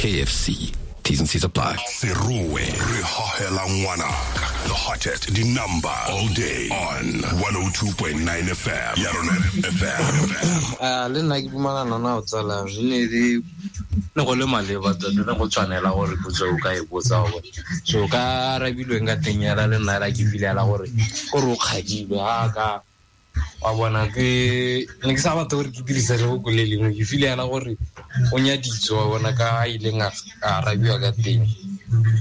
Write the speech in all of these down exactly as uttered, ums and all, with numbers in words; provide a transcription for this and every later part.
K F C. T's and C's apply. Serowe re hohela ngwanaka. The hottest, the number all day on one oh two point nine F M. Ya rona F M. A le nna ke dumalana nao, tsala. Re ne di ne go le maleba tota, ne go tshwanela gore potso o ka e botsa gore so ka arabilweng ka teng yala. Le nna la ke filela gore kore o kgadilwe ga ka wa bona. Ke ne ke sa batla gore ke dirisa lefoko le lengwe. Ke filela gore o nyaditswe, wa bona, ka a ileng a a arabiwa ka teng.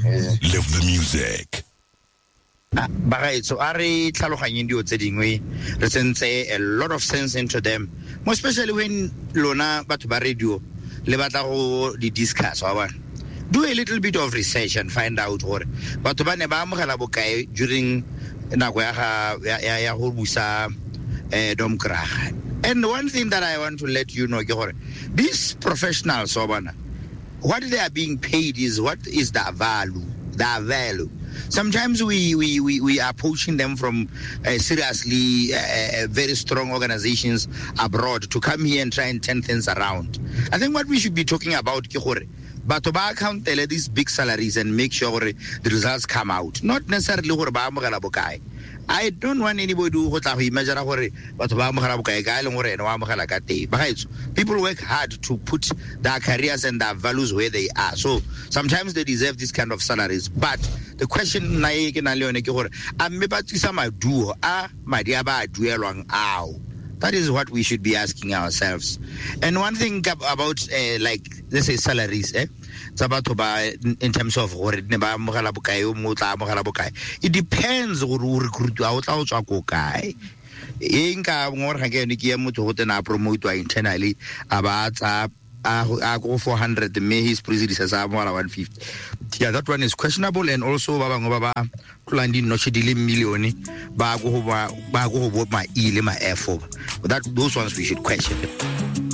Ee. Live the music. Bagaetso, a re tlhaloganyeng dilo tse dingwe, re tsentse a lot of sense into them, more especially when lona batho ba radio le batla go di discuss, wa bona. Do a little bit of research and find out gore batho ba ne ba amogela bokae during nako ya ga ya, ya, ya go busa eh, Domkrag. And one thing that I want to let you know ke gore these professionals, wa bona, what they are being paid is what is their value their value. Sometimes we we, we, we are poaching them from uh, seriously uh, uh, very strong organizations abroad to come here and try and turn things around. I think what we should be talking about ke gore batho ba accountele these big salaries and make sure gore the results come out, not necessarily gore ba amogela bokae. I don't want anybody go tla go imagine gore batho ba amogela bokae ka e leng gore ene o amogela ka teng. Bagaetsho, people work hard to put their careers and their values where they are, so sometimes they deserve this kind of salaries. But the question nna e ke nang le yone ke gore a mme ba tsisa maduo a madi a ba a duelwang ao? That is what we should be asking ourselves. And one thing about uh, like, let's say, salaries, eh tsa batho ba, in terms of gore ne ba amogela bokae, o mongwe o tla amogela bokae, it depends gore o recruitiwa o tla o tswa ko kae. E nka ngore ga ke yone ke ya motho go tena a promotiwa internally, a ba tsa a a go four hundred, mme his predecessor a amogela one fifty. Yeah, that one is questionable. And also ba bangwe ba ba tlolang di-notch di le million ba go go ba go go bo ma E le ma F, that those ones we should question.